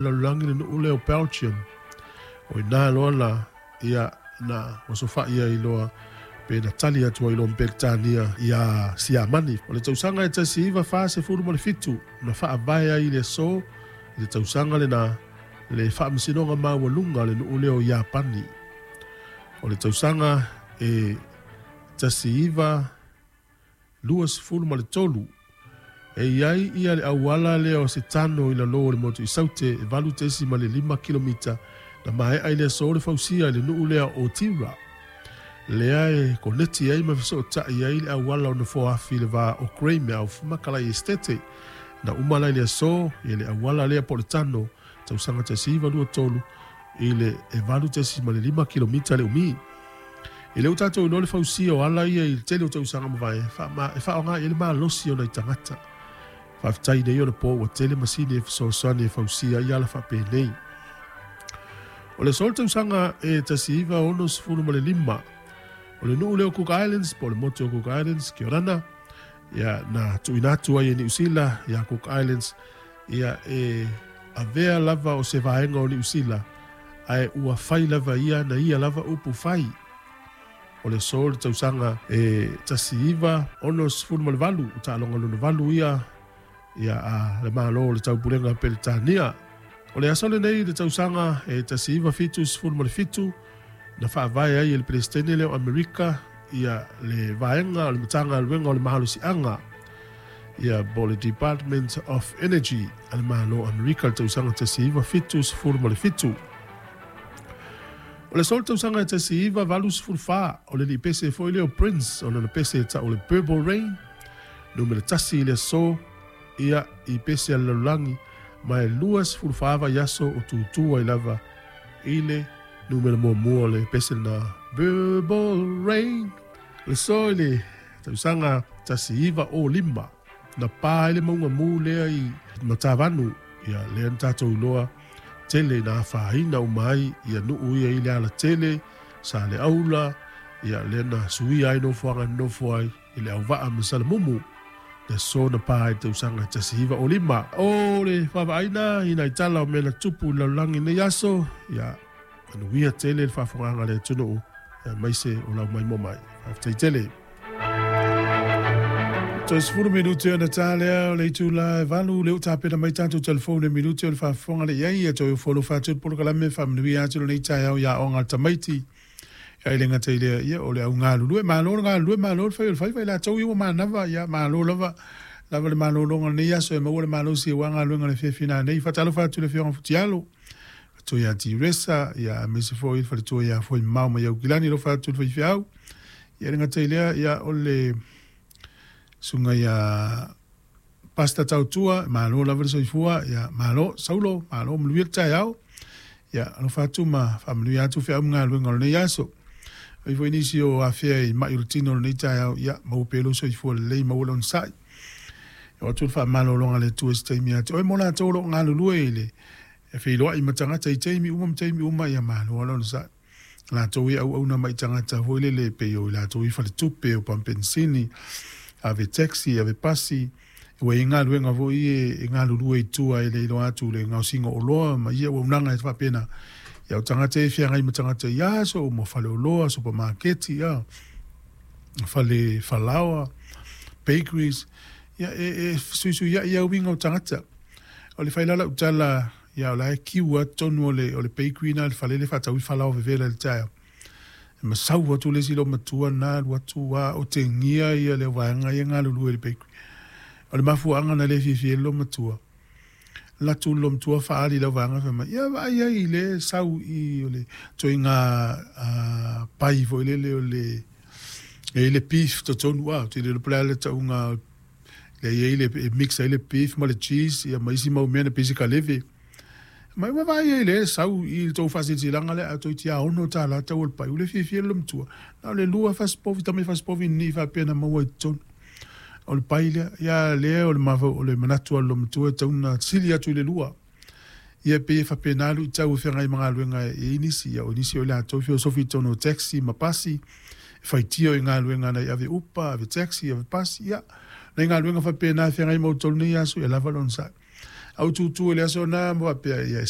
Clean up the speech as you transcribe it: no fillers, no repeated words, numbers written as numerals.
Lalolagi le nuu lea o Belgium. O ina loa la ia na osofa'i ai loa pe na tali atu ai loa ma Peretania iā Siamani. O le tausaga e 1947 na faavae ai i le aso i le tausaga lenā le Faamasinoga Maualuga a le nuu lea o Iapani. O le tausaga e 1923, e i ai ia le auala lea o se tano i lalō o le motu i Saute e 8.5 kilomita na maea i le aso le fausia i le nuu lea o Otira, lea e koneti ai ma fesootai ai le auala o Nofoaafi i le va o Greymouth ma Kalai Esitete. Na uma la i le aso ia le auala lea po o le tano tausaga 1923 i le 8.5 kilomita le umi. E le o tatou iloa le fausia o ala ia i le tele o tausaga mavae e faaaoga i ai le malosi o nai tagata. Faafetai nei ona po ua tele masini e fesoasoani e fausia ai ala faapenei. O le aso o le tausaga e 1965, o le nuu lea o Cook Islands po o le motu o Cook Islands, kia orana, ia, na tuuina atu ai e Niu Sila ia Cook Islands ia e avea lava o se vaega o Niu Sila, ae ua fai lava ia na ia lava upu fai. O le aso o le tausaga e 1968, o taaloga lona valu ia ia a le Malo o le Taupulega Peretania. O le aso lenei i le tausaga e 1977, na faavae ai e le Peresetene lea o Amerika ia le vaega o le Matagaluega o le Malosiaga, ia po o le Department of Energy a le Malo o Amerika i le tausaga 1977. O le aso o le tausaga e 1984, o le lipese foi lea o Prince, o lana pese e tau o le Purple Rain, numera tasi i le aso ia i pese a le lalolagi, ma e 24 vaiaso o tutū ai lava i le numera muamua o le pese lena Purple Rain. O le aso i le tausaga 1905, na pa ai le mauga mū lea i Matavanu, ia lea na tatou iloa tele ina afaina uma ai ia nuu ia i le alatele, Saleaula, ia lea na suia ai nofoaga e nonofo ai i le auvaa ma Salamumu, le aso na pa ai i le tausaga 1905. O le vaavaaina i nai tala o mea na tupu i le lalolagi i lenei aso, ia manuia tele le faafofogaaga a le atunuu, aemaise o lau maimoa mai. Faafetai tele. Toe 10 minute ona ta lea o le itula e 8, lea ua tapena mai tatou telefone e minute o le faafofoga le i ai ia toe ofo alofa atu le polokalame e faamanuia atu lenei taeao i aoga a le tamaiti. Ia e le gata i lea, ia o le au galulue, malo le galulue, malo le fai o le faiva i latou ia ua manava, ia malo lava lava le malologa o lenei aso e maua le malosi aua galuega o le afiafi nanei. Faatalofa atu i le Afioga Futialo, faletua ia Tiresa, ia aemaise foi le faletua ia Foimamao mai Aukilani, alofa atu i le faifeau. Ia e le gata i lea, ia o le susuga ia Pastor Tautua, malo lava le soifua, ia malo Saulo, malo manuia le taeao. Ia alofa atu ma faamanuia atu feau ma galuega o lenei aso. Ai foi nisi o afea i mai o le tino o lenei taeao, ia maua pea lou soifua lelei, maua le onosai. E oo atu le faamalologa a le Atua i se taimi ia te oe mo latou o lo o galulue i le feiloai ma tagata i taimi uma ma taimi uma, ia malo lava le onosai. Latou e auauna mai i tagata foi lele pei o i latou i faletupe, o pamupenisini, ave taxi, ave pasi, ua i ai galuega foi e galulue i tua e le iloa atu le gaosiga o oloa ma ia auaunaga e faapena. Ia o tagata e feagai ma tagata i aso uma, faleoloa, supamaketi, ia, fale falaoa, bakeries, ia e fesuisuiai lava uiga o tagata. O le fai la lau tala, Ia o la e kiu lava totonu o le o le bakery na le fale lea e faatau ai falaoa vevela i le taeao. E masau atu le isi loomatua na alu atu a otegia ia le vaega ia e galulue i le bakery. O le mafuaaga na le fiafia ai le loomatua, alu atu le loomatua faaali i lau vaega fai mai, ia vaai ai lea e sau i o le ituaiga pai foi lele o le e i ai le beef totonu a, ou te le iloa po o le a le tauga lea e i ai le, e mix ai le beef ma le cheese ia ma isi mau mea na pei se kaleve. Mai ua vaai ai lea e sau i le tou faasilasilaga lea a toeitiiti $6 tau o le pai. Ua le fiafia le loomatua. Na o le lua fasipovi, tamai fasipovi ni faapea na maua i totonu o le pai lea. Ia lea o le mafau, o le manatu o le loomatua e tatau ona sili atu i le lua. Ia e pei e faapena luitau e feagai ma galuega e i ai nisi, ia o nisi o i latou e feosofi i totonu o taxi ma pasi, e faitio i galuega nai ave upa, ave taxi, ave pasi, ia, nai galuega faapena e feagai ma outou i lenei aso, ia lava le onosai. A ou tutu i le aso lena ma faapea, ia e